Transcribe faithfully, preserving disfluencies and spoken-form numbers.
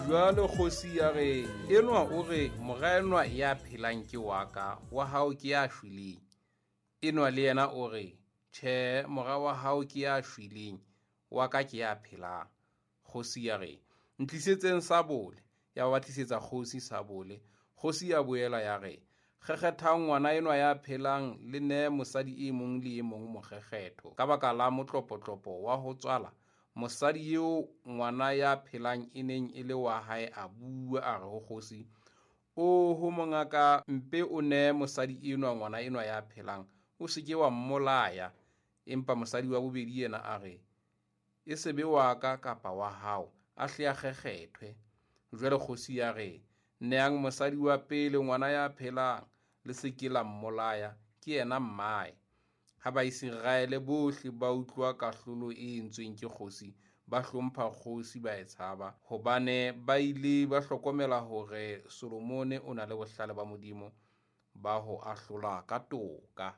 Jwale kgosi ya re, enwa o re, mora enwa ya phelang ke wa ka, wa hao ke ya shweleng. Enwa le yena o re, tjhe, mora wa hao ke ya shweleng, wa ka ke ya phelang. Kgosi ya re, ntlisetseng sabole. Ya ba tlisetsa kgosi sabole. Kgosi ya boela ya re, kgekgethang ngwana enwa ya phelang le nee mosadi e mong le e mong mokgekgetho. Ka baka la motlopotlopo wa ho tswala, mosadi eo ngwana ya phelang e neng e le wa hae a bua a re ho kgosi, oho mongaka, mpe o nee mosadi enwa ngwana enwa ya phelang, o se ke wa mmolaya. Empa mosadi wa bobedi yena a re, e se be wa ka kapa wa hao, a hle a kgekgethwe. Jwale kgosi ya re, neang mosadi wa pele ngwana ya phelang, le se ke la mmolaya, ke yena mmae. Ha Baiseraele bohle ba utlwa kahlolo e entsweng ke kgosi, ba hlompha kgosi ba e tshaba, hobane ba ile ba hlokomela hore Solomone o na le bohlale ba Modimo ba ho ahlola ka toka.